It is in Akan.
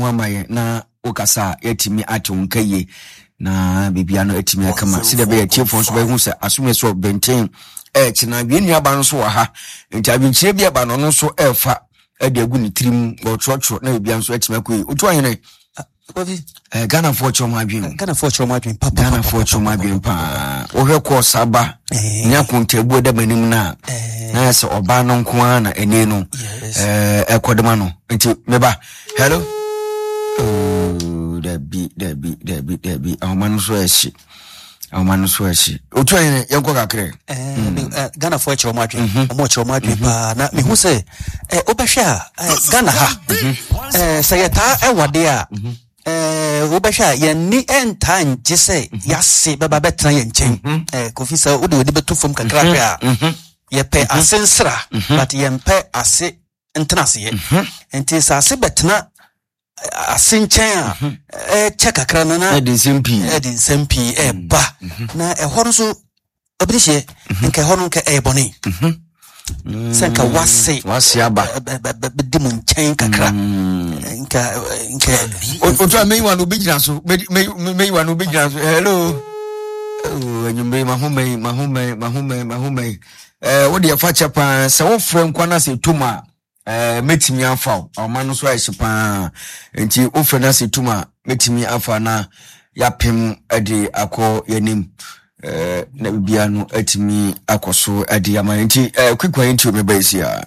ho ama yɛn na wokasa a yɛatumi ate wo nka yie na biribia no atumi akama sɛdeɛ ɛbɛyɛ atiefoɔ nso bɛhu sɛ asomɛ so bɛnten ɛkyena wie nnuaba no nso wɔ ha nti adwenkyerɛ bi ɛba no ɔno nso ɛrefa ɛde agu ne tirim ɔtwerɛtwerɛ na biribia nso atumi akɔ yie. Wotu ahene Eh, Ghanafoɔ kyerɛ ɔmo adwene. Ghanafoɔ kyerɛ ɔmo adwene papa. Ghanafoɔ kyerɛ ɔmo adwene paa. Wohwɛ kɔɔ saba eh. ne akontabu ɛda m'anim no a eh. na yɛ sɛ ɔbaa no nko ara na ɛne no ɛkɔ dema no nti meba hello. Oh, dabi dabi dabi dabi ahoma no so ɛhye ahoma no so ɛhye otu ayɛ yɛnkɔ kakra. Ghanafoɔ kyerɛ ɔmo adwene mhm. ɔmo kyerɛ ɔmo adwene mhm. paa na mehu sɛ wobɛhwɛ a Ghana ha mhm. sɛ yɛtaa ɛwade a wobɛhwɛ a yɛn ni ntaa ngye sɛ yɛase bɛba bɛtena yɛn nkyɛn. Kofi, sɛ wode w'ani bɛto fam kakra hwɛ a, yɛpɛ ase nsra but yɛmpɛ ase ntena aseɛ. Nti sɛ ase bɛtena ase nkyɛn a, ɛkyɛ kakra no na ɛde nsɛm pii ɛde nsɛm pii ɛba na ɛhɔ no nso ɛbi hyɛ nka ɛhɔ no nka ɛyɛ bɔne sɛ nka wase wase aba bɛdi mu nkyɛn kakra nka Otu a meyiwa no obi gyina so, meyiwa no obi gyina so. Hello. Oh, anwummere mahomɛn mahomɛn mahomɛn mahomɛn. Wo deɛ fa kyɛ paa sɛ wofrɛ nkwa no sɛ ɛtom a mɛtumi afa wo ɔma no so ayɛ hye paa nti wofrɛ no sɛ ɛtom a mɛtumi afa na yɛapem de akɔ yɛnim na biribiara no atumi akɔ so de ama nti quick one nti mebɛyɛ si a.